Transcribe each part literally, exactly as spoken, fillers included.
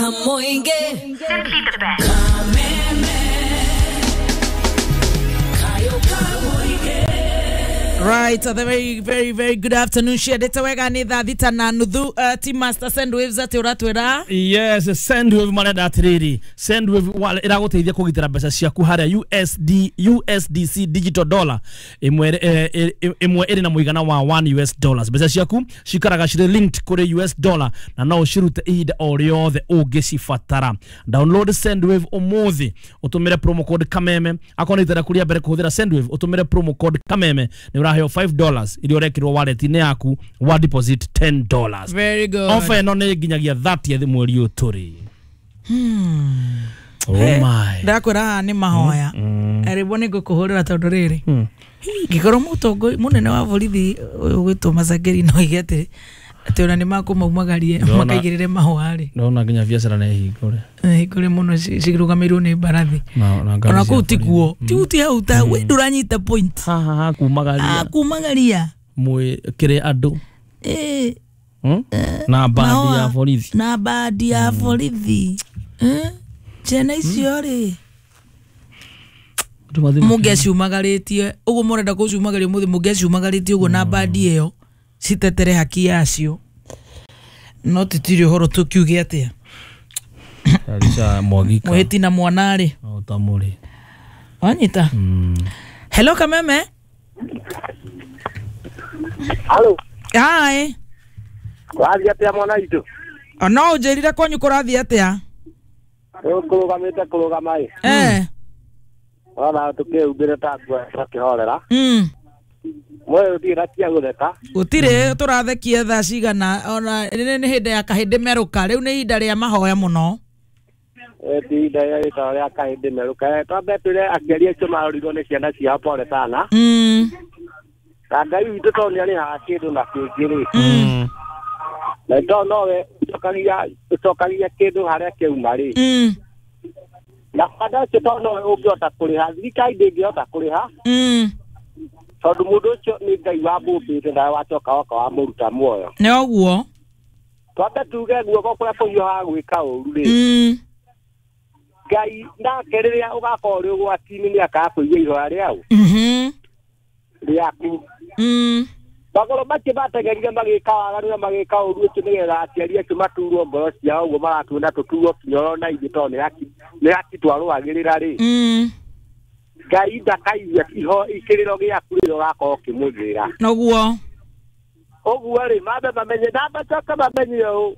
Kamoinge. Simply the best. Kameme. Kayo kamoinge. Right, a very very very good afternoon. Ciendete wega ni thaa thita na nuthu. uh, Team Master Sendwaves ati uratwira. Yes, Sendwave marenda atiriri. Sendwave wallet iraguteithia kugitira mbeca ciaku haria U S D U S D C digital dollar imwe imwe iri na muigana wa one U S dollars. Mbeca ciaku cikaraga ciri linked kuri U S dollar na no ucirute ihinda o riothe ungicibatara. Download Sendwave umuthi utumire promo code Kameme. Akorwo ni itera kuria mbere kuhuthira Sendwave utumire promo code Kameme ni uraheo five dollars iria urekirwo wallet-inĩ yaku wa deposit ten dollars. Very good. Offer ĩno nĩ nginyagia thirtieth mweri ũyũ tũrĩ. Hmm. Oh my. Ndakwĩra haha nĩ mahoya. Arĩbo nĩ ngũkũhũrĩra tondũ rĩrĩ. Ngĩkorwo mũtongoria mũnene wa borithi ũgwĩtwo Macangeri no oige atĩ atĩ ona nĩ makũmaumagarie makaigĩrĩre mahũa rĩ. Ndona nginya biacara nĩ hingũre. Hingũre mũno cirũgamĩirwo nĩ mbarathi. Ona kũu tikuo. Ti ti hau ta we ndũranyita point. Ha ha ha kumagaria. Ah kumagaria. Mwĩ kĩrĩ andũ. Eh. Na bandi ya borithi. Na bandi ya borithi. Eh. Ciana icio rĩ. Mũngĩaciumagarĩtie ũguo mũrenda kũciumagaria ũmũthĩ mũngĩaciumagarĩtie ũguo na bandi ĩyo citetere haki yacio no titiri ũhoro tũkiuge atĩa. Alisha mwagika mũhĩti na mwana rĩ o ta mũrĩ wanyita. Hello Kameme. Hello. Hi. Kũrathiĩ atĩa mwana witũ? No ũnjĩrire kwanyu kũrathiĩ atĩa? Kũrũgamĩte kũrũgama ĩ. Eh. Ona tukĩhumbĩre ta nguo tũkĩhorera. Mm. Mwe ũtirĩ na cia gũtheka. Gũtirĩ tũrathekia thaa cigana ona nĩ hĩndĩ ya kahĩndĩ merũka rĩu nĩ ihinda rĩa mahoya mũno. Eh ti ihinda rĩa kahĩndĩ merũka. Twambe twĩre aciari acio marorirwo nĩ ciana ciao pole sana. Mm. Na Ngai witũ tondũ nĩarĩhaga kĩndũ na kĩngĩ rĩ. Mm. Na tondũ nowe ũcokagia ũcokagia kĩndũ harĩa kĩauma rĩ. Mm. Na bada ũcio tondũ nowe ũngĩhota kũrĩha thirikari ndĩngĩhota kũrĩha. Mm. Tondũ mũndũ ũcio nĩ Ngai wamũmbĩte nawe wacoka woka wamũruta muoyo. Nĩ ũguo. Twambe tuge guoko kũrĩa kũhiũhaga gwĩka ũru rĩ. Mm. Ngai nake rĩrĩa ũgakorwo ũrĩ ũgwati-inĩ nĩakakũigua ihoya rĩau. Mhm. Rĩaku. Mm. Magũrũ macio mateng'erire magĩka waganu na magĩka ũru ũcio nĩgetha aciari acio maturwo ngoro ciao ũguo maratuona tũturwo kĩoro na ithuĩ tondũ nĩ haki nĩ haki twarũagĩrĩra rĩ. Mm. Ngai ndakaigua iho ikĩrĩro gĩaku rĩrĩa ũgakorwo ũkĩmũthĩra. Noguo. Ũguo rĩ mambe mamenye na macoke mamenye ũũ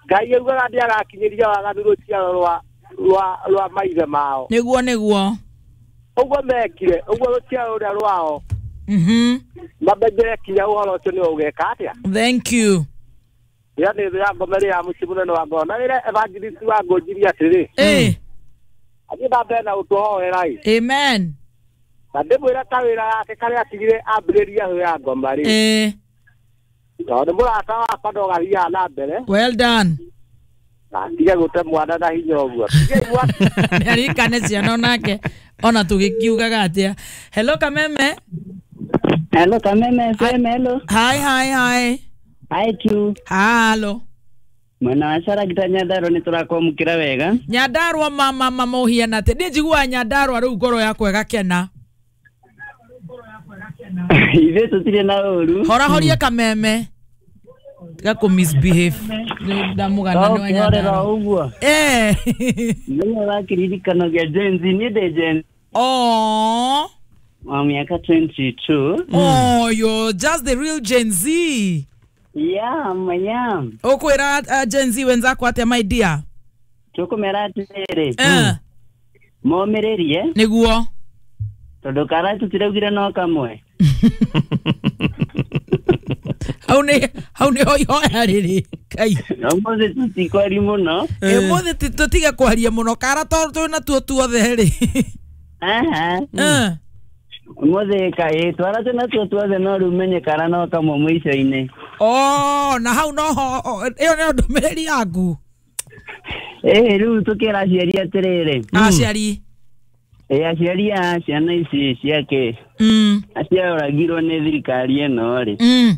Ngai augaga nĩagakinyĩria waganu rũciaro rwa rwa rwa maithe mao. Nĩguo nĩguo. Ũguo mekire ũguo rũciaro rũrĩa rwao. Mhm. Mamenyere kinya ũhoro ũcio nĩ ũgeka atĩa. Thank you. Ĩyo nĩ thũ ya ngoma ĩrĩa ya mũciĩ mũnene wa ngoro. Na rĩrĩa evangelist wa ngũnjirie atĩrĩ. Eh. Athiĩ na mbere na gũtũhoera ĩ. Amen. Na ndĩmwĩre kawĩra gake karĩa atigire ambĩrĩria thũ ya ngoma rĩ. Eh. Tondũ mũrata wakwa no gathiaga na mbere. Well done. Na atige gũte mwana na hinya ũguo. Nĩarikane ciana onake ona tũgĩkiugaga atĩa. Hello Kameme. Hello Kameme F M, hello. Hi hi hi. Hi Q. Hello. Mwena wa Sara gita Nyandarua nĩ tũrakwamũkĩra wega. Nyandarua mama mama ũhiana atĩ niĩ njiguaga Nyandarua rĩu ngoro yakwa ĩgakena. Ithuĩ tũtirĩ na ũru. Horahoria Kameme. Tiga kũ misbehave. Ndamũgana nĩ wa Nyandarua. Ũguo. Eh. Nĩ wa kĩririkano kĩa Gen Z, niĩ ndĩ Gen. Oh. Wa miaka twenty-two. Oh, you're just the real Gen Z. Yeah, yeah. Ukwira uh, Gen Z wenzako atia my dear? Tukumera atiriri. Eh. Momererie. Niguo. Tondu kara tutiraugire no kamwe. Hau ni hau ni hoihoya riri. Kai. Umuthi tutikwari muno. Eh, umuthi tutige kwaria muno kara tondu twina tuo tuothe ri. Aha. Eh. Umuthi kai twara twina tuo tuothe no riu menye kara no kamwe mwico-inĩ. Oh, na hau no ho ĩyo nĩyo ndũmĩrĩri yaku. Eh, riu tukĩra aciari atĩrĩrĩ. Aciari. Eh, aciari a ciana ici ciake. Mm. Acioragirwo nĩ thirikari ĩno rĩ. Mm.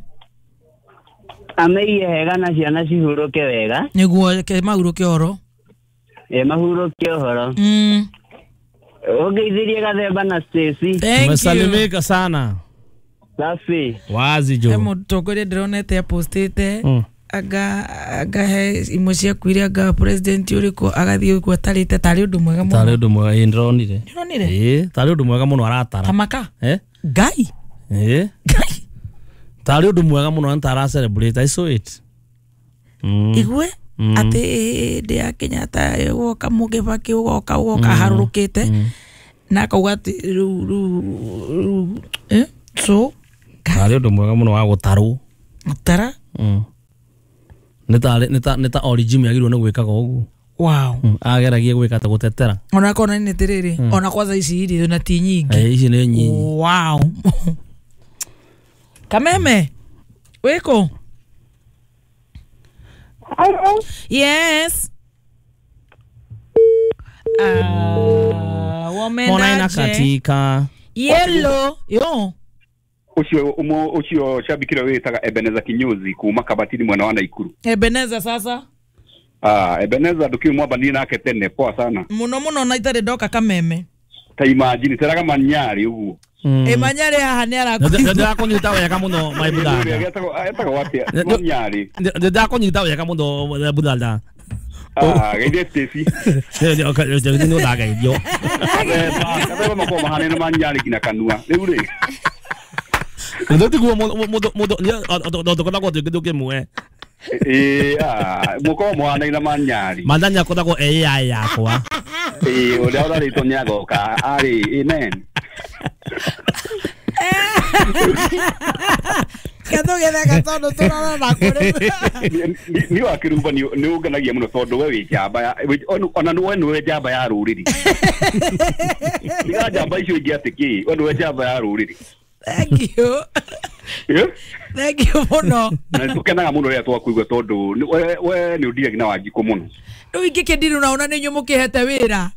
Ameiye hega na ciana cihurũke wega. Nĩguo ke mahurũke ũhoro. Ĩ mahurũke ũhoro. Mm. Ũngeithirie Gathemba na Stacy. Thank you. Umesalimika sana. Safi. Wazi He jo. mũtongoria ndĩronete apostĩte Mm. anga anga he imwe ciaku iria anga president ũrĩkũ agathiĩ ũguo atarĩte tarĩ ũndũ mwega mũno. Tarĩ ũndũ mwega ĩ ndĩronire. Ndĩronire? Ĩ tarĩ ũndũ mwega mũno aratara. Tamaka. Eh? Ngai. Ĩ? Ngai. Tarĩ ũndũ mwega mũno na tara celebrate I saw it. Mm. Igue Mm. atĩ hĩndĩ ya Kenyatta ũgoka Mũgĩbakĩ ũgoka ũgoka harũrũkĩte na akauga atĩ rĩu rĩu rĩu eh so Tarĩ ũndũ mwega mũno wa gũtarwo. tara Mm. Nĩ tarĩ nĩ ta nĩ ta origin yagĩrĩirwo nĩ gwĩkaga ũguo. wow Mm. Ageragie gwĩka ta gũtetera. ona kona nĩ atĩrĩrĩ ona kwanza ici irio na ti nyingĩ. Eh, ici nĩ nyinyi. Wow. Kameme wĩkũ? Yes. Ah, Mona wamenda inakatika. Yellow. Yo. Ucio umo ucio shabiki ũrĩa wĩtaga Ebeneza Kinyozi kuma Kabatini mwena wa Naikuru. Ebeneza sasa. Ah, Ebeneza ndukiu mwambanie nake tene poa sana. Muno muno na itarĩ ndoka Kameme. Ta imagine teraga manyari uguo. Mm. Ĩ manyarĩ haha nĩ arakũnyita. Ndĩrakũnyita wega mũno my brother. Etagwo etagwo atia? Manyari. Ndĩrakũnyita wega mũno my brother. Ah, geithie Stacy. Nĩ ũndageithio. Gathemba makoragwo mahanaine na manyari nginya kanua. Rĩu rĩ. Nĩ tiguo mũndũ mũndũ tũkoragwo twĩ kĩndũ kĩmwe. Ĩ ah, mũkoragwo mũhanaine na manyari. Mandanya akoragwo A I yakwa. Ĩ ũrĩa ũrarĩtwo nĩ agoka arĩ amen. Ketũgĩtheka tondũ tũrarora kũrĩ. Ni wa kĩrumba nĩ ũngenagia mũno tondũ we wĩ njamba ya ona we nĩwe njamba ya rũrĩrĩ. Tiga njamba icio ingĩ atĩ kĩ, we nĩwe njamba ya rũrĩrĩ. Thank you. Eh? Thank you mũno. Na nĩtũkenaga mũno rĩrĩa twakuigua tondũ nĩ- we we nĩ ũndiragia na Wanjikũ mũno. Rĩu ingĩkĩndirũ naona nĩ inyuĩ mũkĩhete wĩra.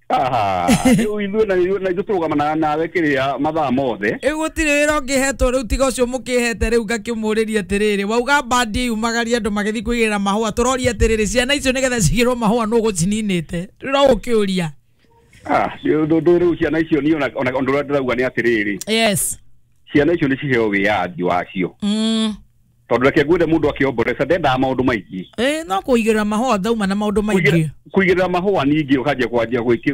Aha, rĩu ithuĩ na ithuĩ na ithuĩ tũrũgamanaga nawe kĩrĩa mathaa mothe. Rĩu gũtirĩ wĩra ũngĩhetwo rĩu tiga ũcio mũkĩhete rĩu ngakĩmũrĩria atĩrĩrĩ wauga bandi yumagaria andũ magĩthiĩ kũigĩrĩra mahũa tũroria atĩrĩrĩ ciana icio nĩgetha cigĩrwo mahũa nũ ũgũcininĩte rĩu no ũkĩũria. Ah, ũndũ rĩu ciana icio niĩ ona ona ũndũ ũrĩa ndĩrauga nĩ atĩrĩrĩ. Yes. Ciana icio nĩ ciheo wĩyathi wacio. Mm. Tondũ reke ngwĩre mũndũ akĩomboreca ndendaga maũndũ maingĩ. Ĩ no kũigĩrĩra mahũa ndauma na maũndũ maingĩ. Kũigĩrĩra mahũa ningĩ ũkanjia kwanjia gwĩki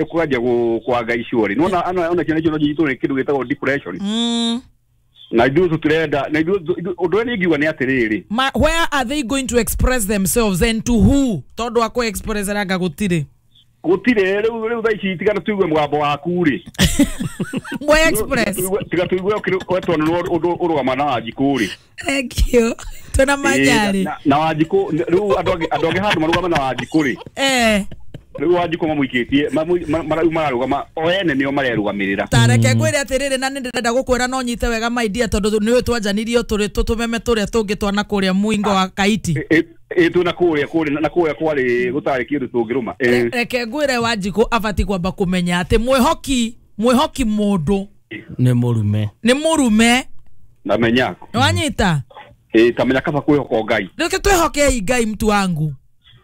kwanjia kwanga icio rĩ. Nĩwona ona ona ciana icio no nyitwo nĩ kĩndũ gĩtagwo depression. Mm. Na ithuĩ tũtirenda na ithuĩ ũndũ ũrĩa ingiuga nĩ atĩrĩrĩ. Ma, where are they going to express themselves and to who? Tondũ akũ express ranga gũtirĩ. Gũtirĩ rĩu rĩu thaa ici tiga tũigue mũgambo waku rĩ. Mwe express. Tiga tũigue ũkĩretwo nĩ ũndũ ũrũgama na Wanjikũ rĩ. Thank you. Twĩna manyarĩ. Na Wanjikũ rĩu andũ angĩ andũ angĩ handũ marũgama na Wanjikũ rĩ. Eh. Rĩu Wanjikũ mamũikĩtie marau mararũgama o ene nĩo marerũgamĩrĩra. Tareke ngwĩre atĩrĩrĩ na nĩndĩrenda gũkwĩra no nyite wega my dear tondũ nĩũĩ twanjanirio tũrĩ tũtũmeme tũrĩa tũngĩ twana kũrĩa mũingo wa Kaiti. Ĩ twĩ na kũrĩa kũrĩa na kũrĩa kwarĩ gũtarĩ kĩndũ tũngĩrũma. Reke ngwĩre Wanjikũ abatiĩ kwamba kũmenya atĩ mwĩhoki mwĩhoki mũndũ nĩ mũrume. Nĩ mũrume. Ndamenya. Nĩwanyita? Ĩ tamenya kaba kwĩhoka Ngai. Reke twĩhokei Ngai mtu wangu.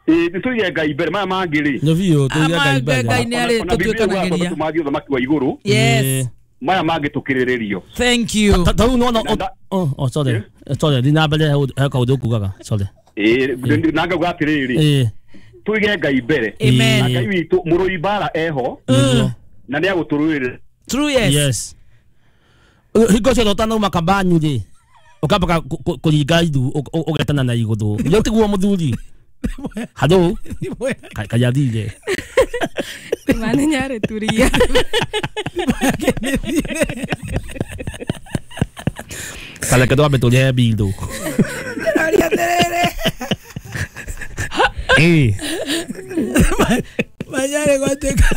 Ĩ nĩtũige Ngai mbere maya mangĩ rĩ. Nĩ biũ tũige Ngai mbere. Ngai nĩ arĩ tũtuĩkanagĩria. Tũmathiĩ ũthamaki wa igũrũ. Yes. Maya mangĩ tũkĩrĩrĩrio. Thank you. Ta rĩu nĩwona oh oh sorry. Sorry ndina mbere he kaũndũ ũkugaga. Sorry. Ĩ na ngauga atĩrĩrĩ. Ĩ Tũige Ngai mbere. Amen. Ngai witũ mũrũi mbara eho. Na nĩ agũtũrũĩrĩra. True yes. Yes. Hingo ciothe ũtanauma kambanyu rĩ ũkambaga kũringa ithu ũgetana na igũthũ. Nĩ tiguo mũthuri. Halo. Kayathire. Mane nyarĩ turia. Kareke twambe tũrĩhe bill. Ndĩroria atĩrĩrĩ. Ĩ. Manyarĩ gwatuĩka.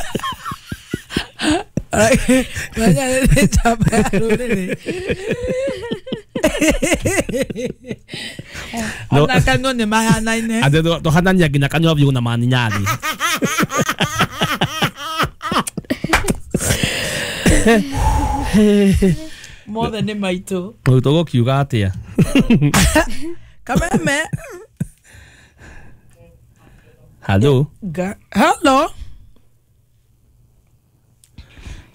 Manyarĩ nĩ njamba ya rũrĩrĩ. Ona kanua nĩ mahanaine. Atĩ tũhanania nginya kanua biũ na maninyari. Mothe nĩ maitũ. Rĩu tũgũkiuga atĩa? Kameme. Hello. Ga- Hello.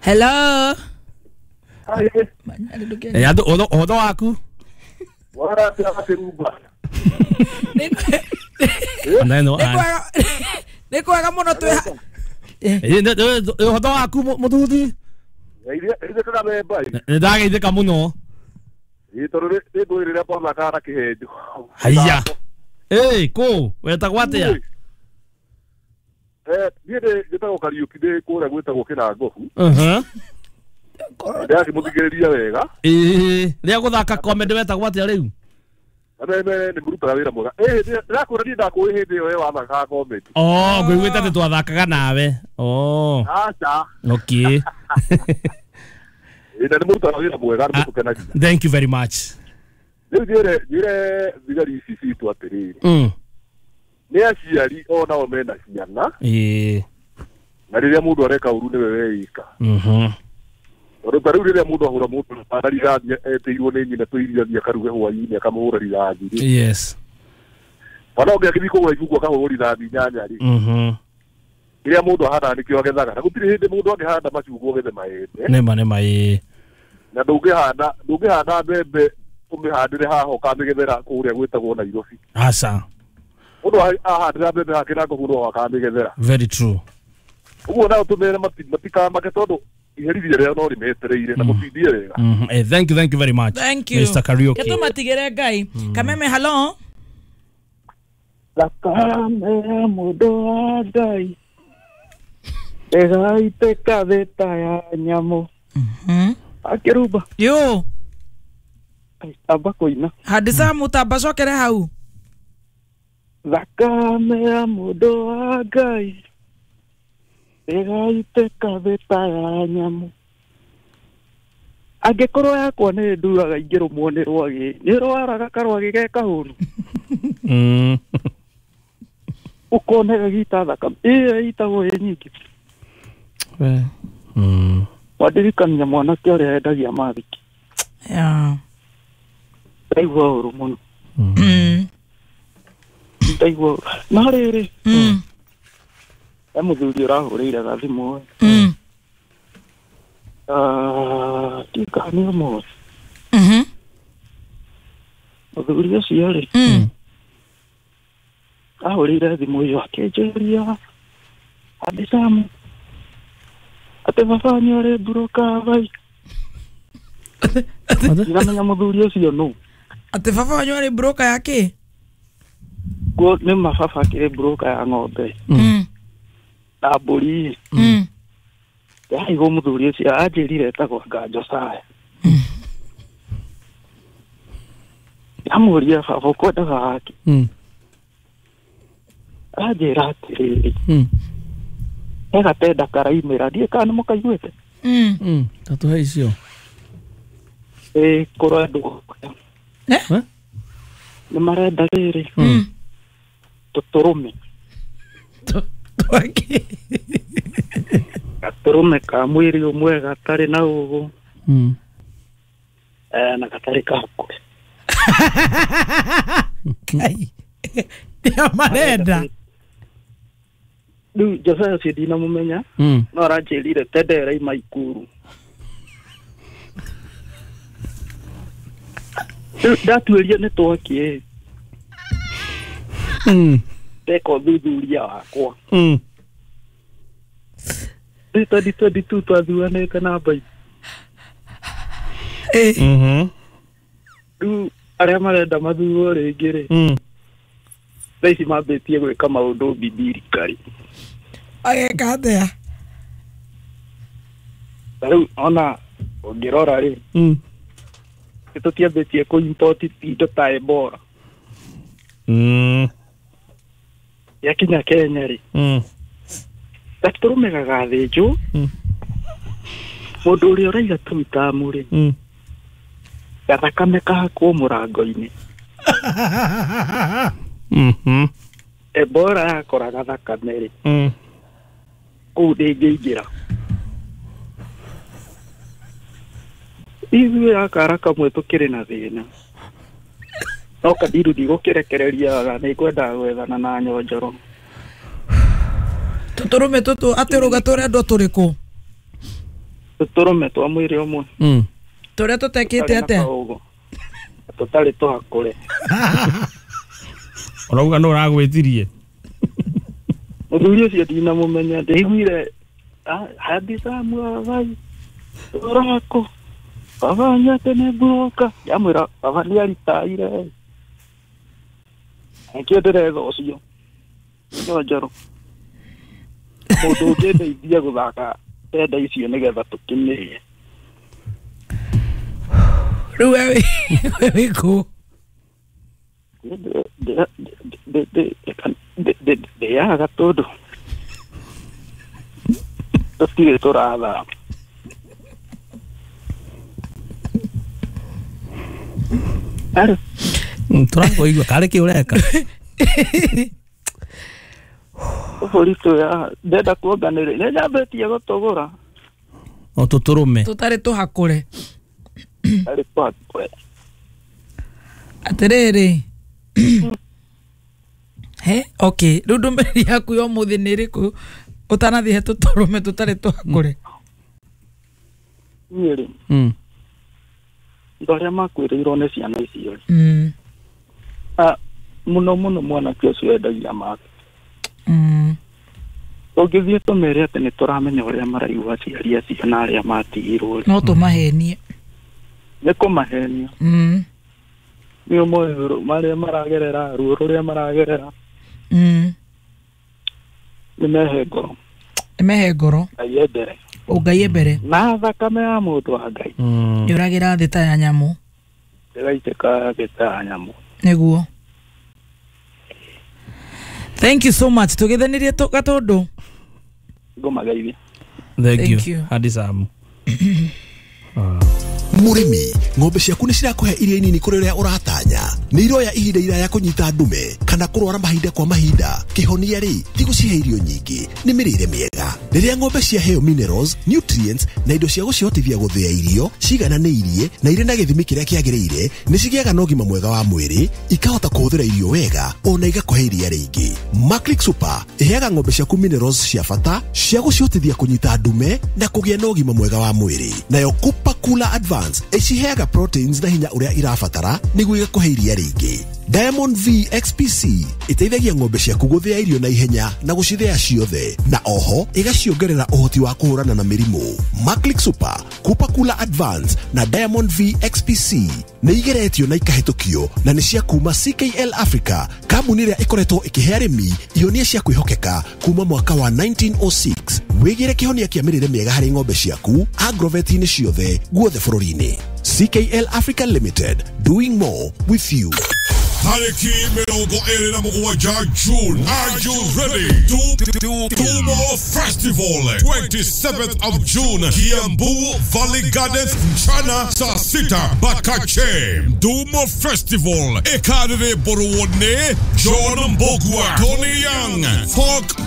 Hello. Eh andu ũhoro waku? Wara tirumba. Neno. Nĩ kwega mũno twĩ. Eh ũhoro waku mũthuthi? Ithe tũramemba. Nĩ ndageithĩka mũno. Ĩ tondũ nĩ ngwĩrĩra twamathakaga na kĩhenjo. Haiya. Ĩ kũ wetagwo atĩa? Eh niĩ njĩtagwo Kariũki ndĩ kũrĩa gwĩtagwo Kĩrangobu. Mhm. Ndĩrakĩmũthikĩrĩria wega. Ĩ rĩa gũthaka comedy wetagwo atĩa rĩu? Kameme nĩ mũrutaga wĩra mwega. Ĩ ndĩrakwĩra niĩ ndakũĩ hĩndĩ ĩyo we wathakaga comedy. Oh ngũiguĩte atĩ twathakaga nawe. Oh. Aca. Okay. Ĩ na nĩ mũrutaga wĩra mwega nĩ mũtũkenagia. Thank you very much. Rĩu njĩre njĩre thigari ici citũ atĩrĩrĩ. Mm. Nĩ aciari onao mena ciana. Ĩ. Na rĩrĩa mũndũ areka ũru nĩwe weika. Mhm. Tondũ ta rĩu rĩrĩa mũndũ ahũra mũndũ na rithathi etĩirwo nĩ nyina tũirio athiĩ akaruge hwaĩ-inĩ akamũhũra rithathi rĩ. Yes. Mwana ũngĩ agĩthiĩ kũgũra ibuku akahũrwo rithathi inyanya rĩ. Mhm. Kĩrĩa mũndũ ahandaga nĩkĩo agethaga. Na gũtirĩ hĩndĩ mũndũ angĩhanda macungwa agethe maembe. Nĩma nĩma ĩ. Na ndũngĩhanda ndũngĩhanda mbembe ũmĩhandĩre haha ũkamĩgethera kũrĩa gwĩtagwo Nairobi. Aca. Mũndũ ahandĩra mbembe hake na ngobu no akamĩgethera. Very true. Ũguo nao tũmere matikamake tondũ iherithia rĩao no rĩmetereire na mũtindie wega. Eh thank you thank you very much. Thank you. Mister Kariuki. Ketumatigere Ngai. Kameme hello. Thakame ya mũndũ wa Ngai ĩgaitĩka thĩ ta ya nyamũ. Mhm. Akĩrumba. Yo. Amba kũina. Handisa mũtamba cokere hau. Thakame ya mũndũ wa Ngai ĩgaitĩka thĩ ta ya nyamũ. Angĩkorwo yakwa nĩ nduraga ingĩrũmwo nĩ rwagĩ, nĩ rwaraga karwagĩ ge kahũnu. Mm. Ũkone gagĩita thakame ĩyo ĩitagwo ĩ nyingĩ. We. Mm. Wandirikania mwanake ũrĩa endagia mathiki. Yeah. Ndaigua ũru mũno. Mm. Ndaigua ũru. No rĩrĩ. Mm. He mũthuri ũrahũrĩire gathimũ. Mm. Ah, ndikana nĩ ũmũthĩ. Mhm. Mũthuri ũcio rĩ. Mm. Ahũrĩire thimũ ĩyo akĩnjũria Andisamu atĩ baba nĩ ũrĩ mburoka vai. Ndiramenya mũthuri ũcio nũ. Atĩ baba wanyu arĩ mburoka ya kĩ? Guo nĩ mababa akĩrĩ mburoka ya ng'ombe. Mm. Na mbũri. Mm. Ndaigua mũthuri ũcio anjĩrire etagwo Josiah. Ndamũria baba ũkwendaga wake. Mm. Anjĩra atĩrĩrĩ. Mm. He gatenda karaimĩra ndiĩ kana nĩ mũkaiguĩte. Mm. Mm. Tatũhe icio. Ĩ kũrendwo. Eh? Nĩ marenda rĩrĩ. Mm. Tũtũrũme. Twaki. Gatũrũme ka mwĩrĩ ũmwe gatarĩ na ũgũ. Mm. Eh na gatarĩ kahakũre. Kai. Nĩo marenda. Rĩu Josiah ũcio ndinamũmenya. Mm. No aranjĩrire tenda ĩraima Ikuru. Rĩu ndatuĩria nĩ twaki. Mm. Ndeka ũthuthuria wakwa. Mm. Rĩu twenty twenty-two twathuranĩte na Mbai. Eh. Mhm. Rĩu arĩa marenda mathurwo rĩngĩ rĩ. Mm. Thaa ici mambĩtie gwĩka maũndũ bibirikari. Ageka atĩa? Ta rĩu ona ũngĩrora rĩ. Mm. Nĩ tũtiambĩtie kũ import indo ta Ebola. Mm. Yakinya Kenya rĩ. Mm. Gatũrũme gagathĩnjwo. Mm. Mũndũ ũrĩa ũraiga tũitamu rĩ. Mm. Gathakame kahakwo mũrango-inĩ. Mhm. Ebola yakoraga thakame rĩ. Mm. Kũu ndĩngĩingĩra. Ithuĩ akara kamwe tũkĩrĩ na thĩna. No kadiru ndigũkĩrekereria nĩ ngwendaga gwethana na nyonjoro. Tũtũrũme tũtũ atĩ ũrauga tũrendwo tũrĩkũ? Tũtũrũme twa mwĩrĩ ũmwe. Mm. Tũrĩa tũtekĩte atĩa? Tũtarĩ tũhakũre. Ũrauga nũ ũragwĩtirie? Mũthuri ũcio ndinamũmenya, ndĩiguire handicamu abai ũrako baba nyate nĩ mburoka, ndamwĩra baba nĩaritaire. Nĩkĩo ndĩretha ũcio nyonjoro mũndũ ũngĩndeithia gũthaka tenda icio nĩgetha tũkĩmĩrĩe. Rĩu we wĩ kũ? Ndĩaga tondũ tũtirĩ tũrathama. Aro tũrakũigua karĩ kĩ ũreka? Tũbũri tũya ndenda kuonganĩrĩria nĩ nyambĩtie gũtũgũra. O tũtũrũme tũtarĩ tũhakũre. Tũtarĩ tũhakũre. Atĩrĩrĩ, he okay, rĩu ndũmĩrĩri yaku ya ũmũthĩ nĩ ĩrĩkũ ũtanathiĩ he tũtũrũme tũtarĩ tũhakũre? Niĩ rĩ, Mm. andũ arĩa makuĩrĩirwo nĩ ciana icio rĩ, Mm. ah, mũno mũno mwanake ũcio wendagia make. Mm. Tũngĩthiĩ tũmere atĩ nĩ tũramenya ũrĩa maraigua aciari acio na arĩa matigirwo rĩ, No tũmahenie. nĩ kũmahenia. Mm. Nĩ ũmoĩ marĩa maragerera, ruo rũrĩa maragerera. Mm. Nĩ mehe ngoro. Nĩ mehe ngoro. Ngai embere. Ngai embere. Na thakame ya mũndũ wa Ngai. Mm. Yũragĩra thĩ ta ya nyamũ. Ĩgaitĩka thĩ ta ya nyamũ. Nĩguo. Thank you so much. Tũgĩthanirie gatũndũ. Ngũmageithia. Thank Thank you. you. Hadi Sam. Mũrĩmi, ng'ombe ciaku nĩ cirakũhe iria nini kũrĩ ũrĩa ũratanya. Nĩ iroya ihinda iraya kũnyita ndume kana kũrwara mahinda kwa mahinda. Kĩhonia rĩ, ti gũcihe irio nyingĩ, nĩ mĩrĩre mĩega. Rĩrĩa ng'ombe ciaheo minerals, nutrients na indo cia gũcihotithia gũthĩa irio cigananĩirie na irĩ na gĩthimi kĩrĩa kĩagĩrĩire, nĩ cigĩaga na ũgima mwega wa mwĩrĩ, ikahota kũhũthĩra irio wega ona igakũhe iria rĩingĩ. Maclick Super ĩheaga ng'ombe ciaku minerals cia bata cia gũcihotithia kũnyita ndume na kũgĩa na ũgima mwega wa mwĩrĩ. Nayo Cooper Cooler Advance ĩciheaga proteins na hinya ũrĩa irabatara nĩguo igakũhe iria rĩingĩ. Diamond V X P C ĩteithagia ng'ombe ciaku gũthĩa irio na ihenya na gũcithĩa ciothe, na oho ĩgaciongerera ũhoti wa kũhũrana na mĩrimũ. Maclick Super, Cooper Cooler Advance na Diamond V X P C nĩ igeretio na ikahĩtũkio na nĩ cia kuma C K L Africa, kambuni ĩrĩa ĩkoretwo ĩkĩhe arĩmi ihonia cia kwĩhokeka kuma mwaka wa nineteen oh six. Wĩgĩre kĩhonia kĩa mĩrĩre mĩega harĩ ng'ombe ciaku agrovet-inĩ ciothe guothe bũrũri-inĩ. C K L Africa Limited, doing more with you. Tariki mĩrongo ĩrĩ na mũgwanja June. Are you ready? Tumo Festival, twenty-seventh of June, Kiambu Valley Gardens, mchana saa sita Bakache. Dumo Festival, Ekarire Boruone, John Mbogwa, Tony Young, Folk